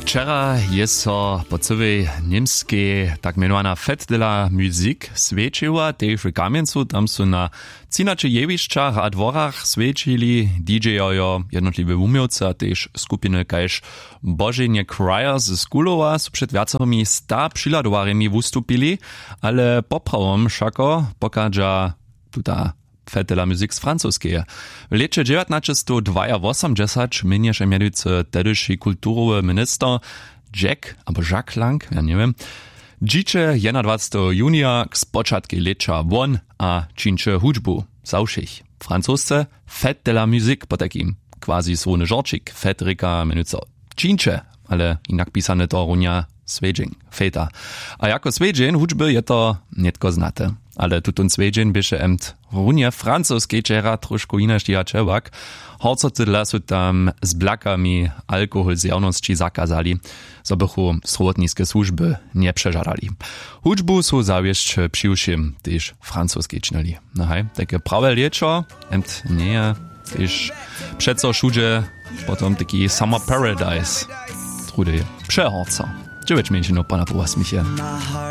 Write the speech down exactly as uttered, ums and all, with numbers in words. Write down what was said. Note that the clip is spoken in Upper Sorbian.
Wčera je so po cyłej němskej tak mjenowana fête de la musique swjećiła tež w kamjencu. Tam su na třinaće jewišćach a dworach swjećili dj-jo, jednotliwe wuměłcy a tež skupiny kaž boženje choir z kulowa su před wjacorymi sta přihladowarjemi wustupili. Ale poprawom wšako pochadźa tuta fête de la musique z francoskeje. W lěće dźewjatnaćestowdwajawosomdźesać měnješe mjenujcy tehdyši kulturowy minister jack abo jacques lang, ja njewěm, dźiće jednadwaceteho junija k spočatkej lěća won a čińće hudźbu za wšěch. Francosce fête de la musique potajkim quasi słowny žorćik fête rěka mjenujcy čińće, ale jinak pisane to runja swjedźeń fête. A jako swjedźeń hudźby je to nětko znate. Ale tutón swjedźeń běše emt runje francoskej wčera trošku jinaš dihaće wak. Horcoty dla su tam z blakami alkohol zjawnosći zakazali, zo bychu strowotniske słužby njepřežadali. Hudźbu su zawěsć přiwšěm tež francoskej činili. No haj, tajke prawe lěćo emt njeje tež přeco wšudźe potom taki summer paradise, trudy přehorco. Dźewjeć mjeńšinow pana poła smiche.